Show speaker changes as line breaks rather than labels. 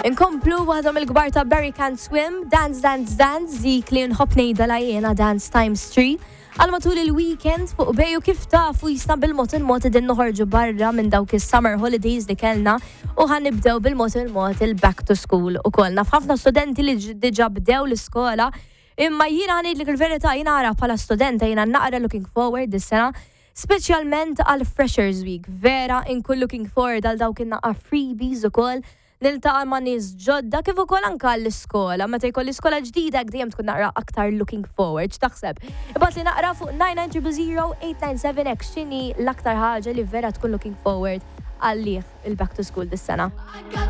Inkomplu waħda mill-kbar ta' Barry Can't Swim, Dance Dance Dance, dik li nħobb ngħidha jiena Dance Times 3. Għal matul il-weekend fuq Bay u kif tafu jista' bil-mod il-mod din noħorġu barra minn dawk is-summer holidays li kellna u ħa nibdew bil-mod il-mod il-back to school ukoll. Naf ħafna studenti li diġà bdew l-iskola, imma jiena ħa ngħidlek il-verità, jiena ara bħala studenta jiena naqra looking forward dis-sena, speċjalment għal Freshers Week. Vera inkun looking forward għal dawk in-naqa freebies ukoll, niltaqa' ma' nies ġodda kif ukoll anke għall-iskola. Meta jkolli skola ġdida hekk dejjem tkun naqra aktar looking forward. X'taħseb? Ibgħatli naqra fuq 99000 897 hekk x'inhi l-aktar ħaġa li vera tkun looking forward għalih il-back to school dis-sena.